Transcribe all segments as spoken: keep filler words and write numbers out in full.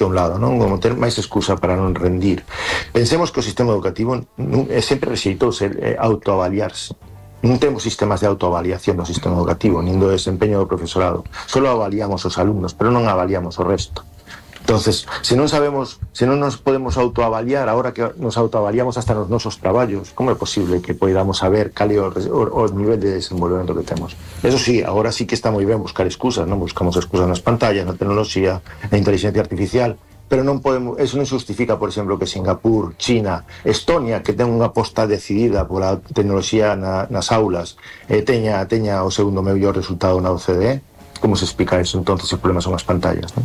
a un lado, non? Como ter máis excusa para non rendir. Pensemos que o sistema educativo non, é sempre rexeitou ser eh, autoavaliarse. Non temos sistemas de autoavaliación no sistema educativo, nin do desempeño do profesorado. Solo avaliamos os alumnos, pero non avaliamos o resto. Entonces, se non sabemos, se non nos podemos autoavaliar, ahora que nos autoavaliamos hasta nos nosos traballos, como é posible que poidamos saber cal é o, o, o nivel de desenvolvemento que temos? Eso sí, agora sí que está moi ben buscar excusas, non buscamos excusas nas pantallas, na tecnoloxía, na inteligencia artificial, pero non podemos, eso non justifica, por exemplo, que Singapur, China, Estonia, que ten unha aposta decidida pola tecnoloxía na, nas aulas, eh, teña, teña o segundo mellor resultado na O C D E. Como se explica eso? Entonces, o problema son as pantallas, non?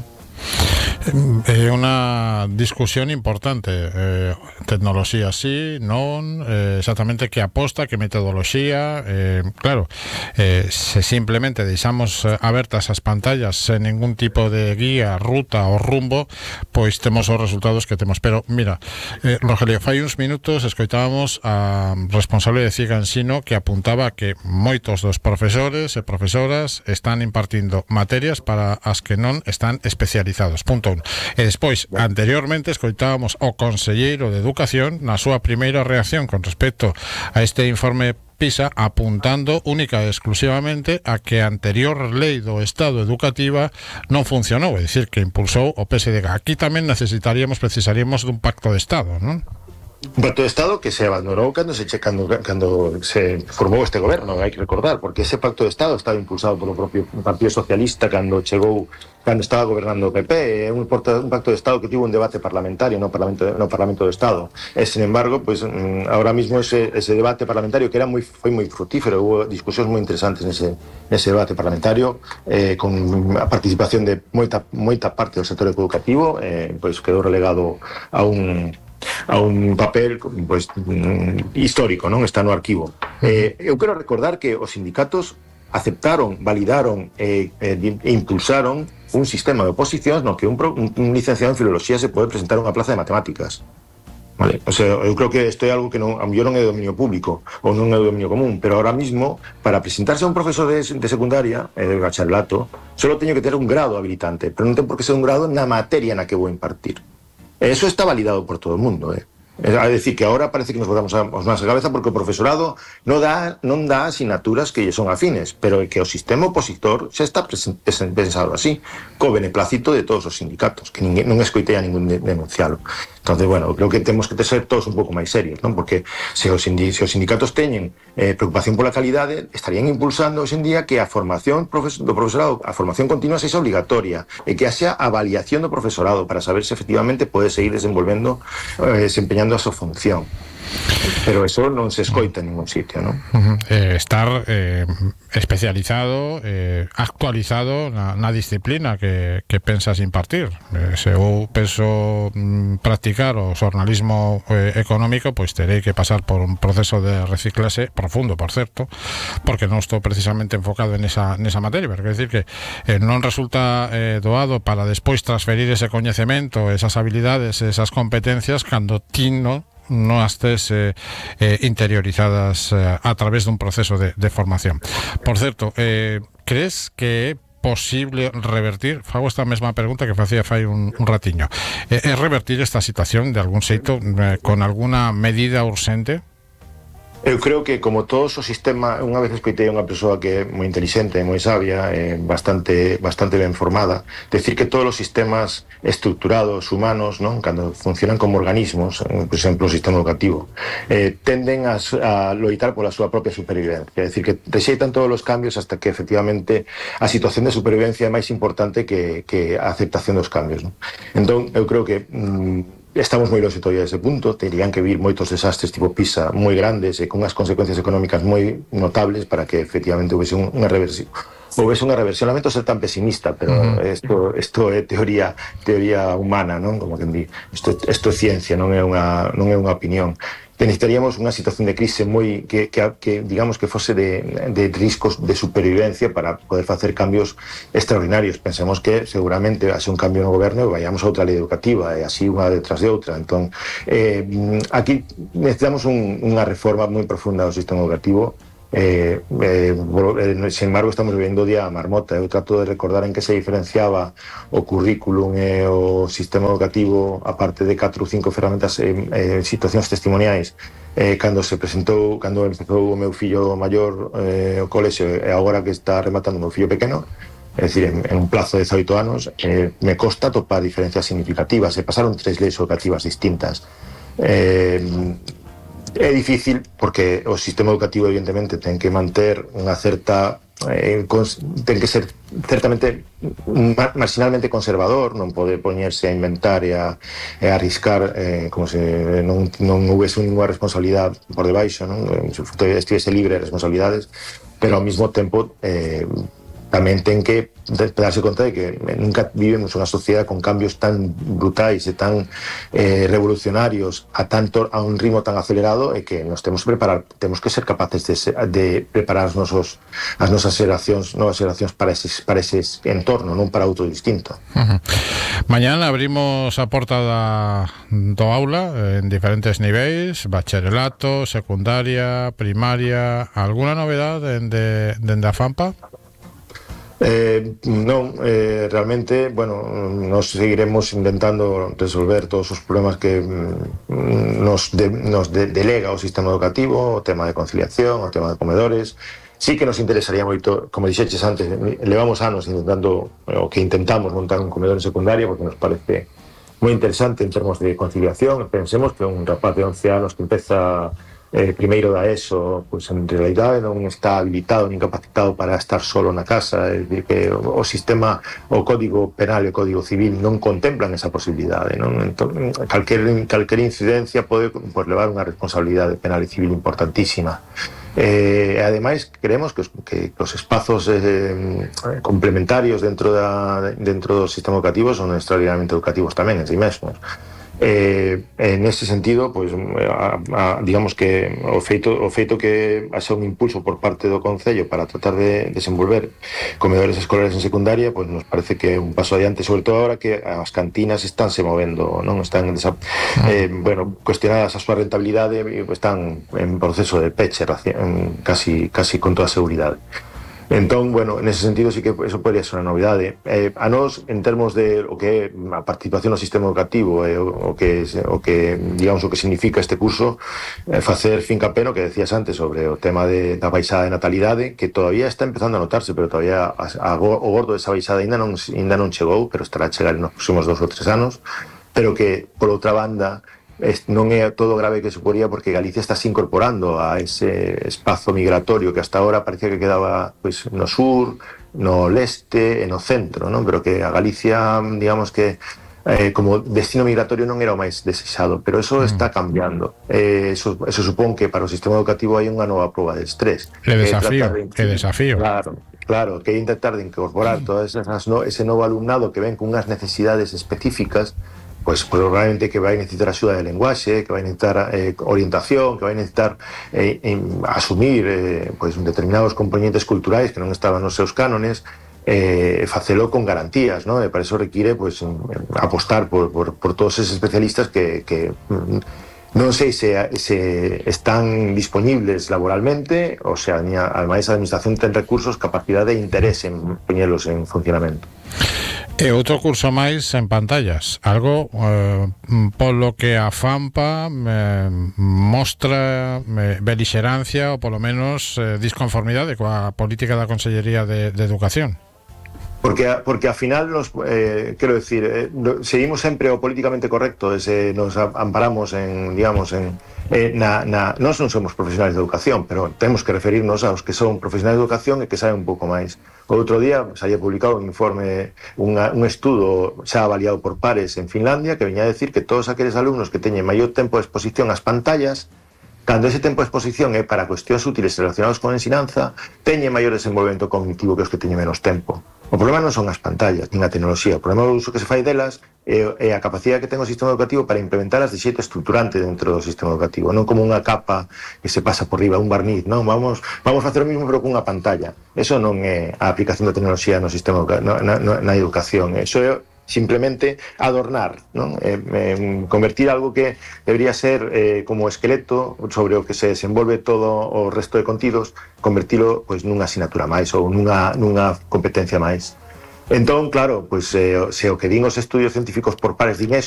É unha discusión importante. eh, Tecnoloxía sí, non, eh, exactamente que aposta, que metodoloxía. eh, Claro, eh, se simplemente deixamos abertas as pantallas sen ningún tipo de guía, ruta ou rumbo, pois temos os resultados que temos. Pero mira, eh, Rogelio, fai uns minutos escoitábamos a responsable de Ciega Ensino que apuntaba que moitos dos profesores e profesoras están impartindo materias para as que non están especializados. Punto un. E despois, anteriormente, escoitábamos o conselleiro de Educación na súa primeira reacción con respecto a este informe PISA, apuntando única e exclusivamente a que a anterior lei do Estado educativa non funcionou, é dicir, que impulsou o P S D G. Aquí tamén necesitaríamos, precisaríamos dun pacto de Estado, non? Un pacto de Estado que se abandonou cando se, che, cando, cando se formou este goberno, hai que recordar, porque ese pacto de Estado estaba impulsado polo propio Partido Socialista cando chegou, cando estaba gobernando o P P. É un, un pacto de Estado que tivo un debate parlamentario no Parlamento, no Parlamento do Estado. E, sin embargo, pues, ahora mismo ese, ese debate parlamentario que era moi, foi moi frutífero, hubo discusións moi interesantes nese, nese debate parlamentario, eh, con a participación de moita, moita parte do sector educativo, eh, pues, quedou relegado a un a un papel pues, histórico, non? Está no arquivo. Eh, eu quero recordar que os sindicatos aceptaron, validaron e eh, eh, impulsaron un sistema de oposicións no que un, un, un licenciado en filoloxía se pode presentar a unha plaza de matemáticas. Vale, o sea, eu creo que isto é algo que non, a mellor non é de dominio público ou non é de dominio común, pero ahora mismo para presentarse a un profesor de, de secundaria e eh, de bacharelato solo teño que ter un grado habilitante, pero non ten por que ser un grado na materia na que vou impartir. Eso está validado por todo o mundo, eh. É dicir, que ahora parece que nos botamos as mans a cabeza porque o profesorado non dá, non dá asignaturas que lle son afines, pero é que o sistema opositor xa está pensado así, co beneplácito de todos os sindicatos, que ninguén, non escoitei a ningún denuncialo. Entonces, bueno, creo que temos que ser todos un pouco máis serios, non? Porque se os, se os sindicatos teñen eh, preocupación pola calidade, estarían impulsando hoxe en día que a formación profes do profesorado, a formación continua sexa obligatoria, e que haxa avaliación do profesorado para saber se efectivamente pode seguir desenvolvendo, eh, desempeñando a súa función. Pero eso non se escoita en ningún sitio, non? Uh-huh. eh, estar eh, especializado, eh, actualizado na, na disciplina que, que pensas impartir. Eh, se eu penso mm, practicar o xornalismo eh, económico, pois terei que pasar por un proceso de reciclase profundo, por certo, porque non estou precisamente enfocado en esa, nesa materia, pero quer decir que eh, non resulta eh, doado para despois transferir ese coñecemento, esas habilidades, esas competencias cando ti non non estés eh, eh, interiorizadas eh, a través dun proceso de, de formación. Por certo, eh, crees que é posible revertir, fago esta mesma pregunta que facía fai un, un ratiño, é eh, revertir esta situación de algún xeito eh, con alguna medida urxente? Eu creo que, como todos os sistemas, unha vez escoitei a unha persoa que é moi inteligente, moi sabia, eh, bastante bastante ben formada, decir que todos os sistemas estructurados humanos, non, cando funcionan como organismos, por exemplo, o sistema educativo, eh, tenden a, a loitar pola súa propia supervivencia, é dicir, que rexeitan todos os cambios hasta que efectivamente a situación de supervivencia é máis importante que, que a aceptación dos cambios, non? Entón, eu creo que mm, estamos moi longe todavía dese punto, terían que vir moitos desastres tipo PISA moi grandes e con as consecuencias económicas moi notables para que efectivamente houvese un, unha reversión. Houvese unha reversión. Lamento ser tan pesimista, pero isto, isto é teoría teoría humana, non? Como que di, isto, isto é ciencia, non é unha, non é unha opinión. Necesitaríamos unha situación de crise moi que, que, que digamos que fose de, de riscos de supervivencia para poder facer cambios extraordinarios. Pensemos que seguramente hace un cambio no goberno e vayamos a outra lei educativa e así unha detrás de outra. Entón, eh, aquí necesitamos un, unha reforma moi profunda do sistema educativo Eh, eh, sin embargo, estamos vivendo o día a marmota. Eu trato de recordar en que se diferenciaba o currículum e o sistema educativo, a parte de catro ou cinco ferramentas en eh, situacións testimoniais, eh, cando se presentou, cando empezou o meu fillo maior eh, o colexio, e agora que está rematando o meu fillo pequeno, é dicir, en, en un plazo de dezaoito anos, eh, me costa topar diferencias significativas. Se pasaron tres leis educativas distintas. Eh, É difícil porque o sistema educativo evidentemente ten que manter unha certa eh, cons, ten que ser certamente ma, marginalmente conservador, non pode poñerse a inventar e a, e a arriscar eh, como se non, non houvese ninguna responsabilidade por debaixo, non? Se estivese libre de responsabilidades, pero ao mesmo tempo eh, tamén ten que darse conta de que nunca vivimos unha sociedade con cambios tan brutais e tan eh, revolucionarios a tanto a un ritmo tan acelerado, e que nos temos que preparar, temos que ser capaces de, de preparar os nosos, as nosas xeracións, novas xeracións para ese, para ese entorno, non para outro distinto. Uh-huh. Mañana abrimos a porta da, do aula en diferentes niveis, bacharelato, secundaria, primaria. Alguna novedade dende, dende a FAMPA? Eh, non, eh, realmente, bueno, nos seguiremos intentando resolver todos os problemas que mm, nos, de, nos de, delega o sistema educativo, o tema de conciliación, o tema de comedores. Sí que nos interesaría moito, como dixeches antes, levamos anos intentando, o que intentamos montar un comedor en secundaria, porque nos parece moi interesante en termos de conciliación. Pensemos que un rapaz de once anos que empeza eh, primeiro da ESO, pois en realidade non está habilitado nin capacitado para estar solo na casa, é dicir, que o, o sistema, o Código Penal e o Código Civil non contemplan esa posibilidade, non? Entón, calquer, calquer incidencia pode pues, levar unha responsabilidade penal e civil importantísima. Eh, e ademais creemos que os, que os espazos eh, complementarios dentro, da, dentro do sistema educativo son extraordinariamente educativos tamén en si mesmos. Eh, en ese sentido, pues, a, a, digamos que o feito, o feito que haxa un impulso por parte do Concello para tratar de desenvolver comedores escolares en secundaria, pues nos parece que é un paso adiante, sobre todo ahora que as cantinas están se movendo, non están desa, eh, bueno, cuestionadas a súa rentabilidade, están en proceso de peche casi, casi con toda seguridade. Entón, bueno, en ese sentido sí que eso podría ser unha novidade. Eh, a nós, en termos de o que é a participación no sistema educativo, eh, o, o, que, o que, digamos, o que significa este curso, eh, facer fincapé no que decías antes sobre o tema de, da baixada de natalidade, que todavía está empezando a notarse, pero todavía a, a, o gordo desa baixada ainda non, ainda non chegou, pero estará a chegar nos próximos dos ou tres anos, pero que, por outra banda, non é todo grave que suporía, porque Galicia está se incorporando a ese espazo migratorio que hasta ahora parecía que quedaba pues, no sur, no leste e no centro, non? Pero que a Galicia, digamos que eh, como destino migratorio non era o máis desexado, pero eso está cambiando. Eh, eso, eso supón que para o sistema educativo hai unha nova proba de estrés. Que desafío, de, que desafío. Claro, claro, que intentar de incorporar todo esas, no, ese novo alumnado que ven con unhas necesidades específicas, pues probablemente que vai necesitar axuda de lenguaxe, que vai necesitar eh, orientación, que vai necesitar eh, en, asumir eh, pues, determinados componentes culturais que non estaban nos seus cánones, eh, facelo con garantías, ¿no? E para eso require pues, apostar por, por, por todos esos especialistas que, que non sei se, se están disponibles laboralmente, ou sea, ademais a administración ten recursos, capacidade e interés en poñelos en funcionamento. E outro curso máis en pantallas, algo eh, polo que a FAMPA eh, mostra eh, belixerancia ou polo menos eh, disconformidade coa política da Consellería de, de Educación. Porque, porque al final nos, eh, quero decir, eh, seguimos sempre o políticamente correcto, ese, nos amparamos en, digamos, en eh, na, na, nós non somos profesionais de educación, pero temos que referirnos aos que son profesionais de educación e que saben un pouco máis. O outro día saía publicado un informe, unha, un estudo xa avaliado por pares en Finlandia, que veña a decir que todos aqueles alumnos que teñen maior tempo de exposición ás pantallas, cando ese tempo de exposición é para cuestións útiles relacionados con a ensinanza, teñen maior desenvolvemento cognitivo que os que teñen menos tempo. O problema non son as pantallas, nin a tecnoloxía. O problema é o uso que se fai delas e, e a capacidade que ten o sistema educativo para implementalas de xeito estruturante dentro do sistema educativo, non como unha capa que se pasa por riba, un barniz, non? Vamos, vamos facer o mismo pero con unha pantalla. Eso non é a aplicación da tecnoloxía no sistema, na, na, na educación. Eso é simplemente adornar, non? Eh, eh, convertir algo que debería ser eh, como esqueleto sobre o que se desenvolve todo o resto de contidos, convertilo pois nunha asignatura máis ou nunha, nunha competencia máis. Entón, claro, pois, eh, se o que din os estudios científicos por pares din eso,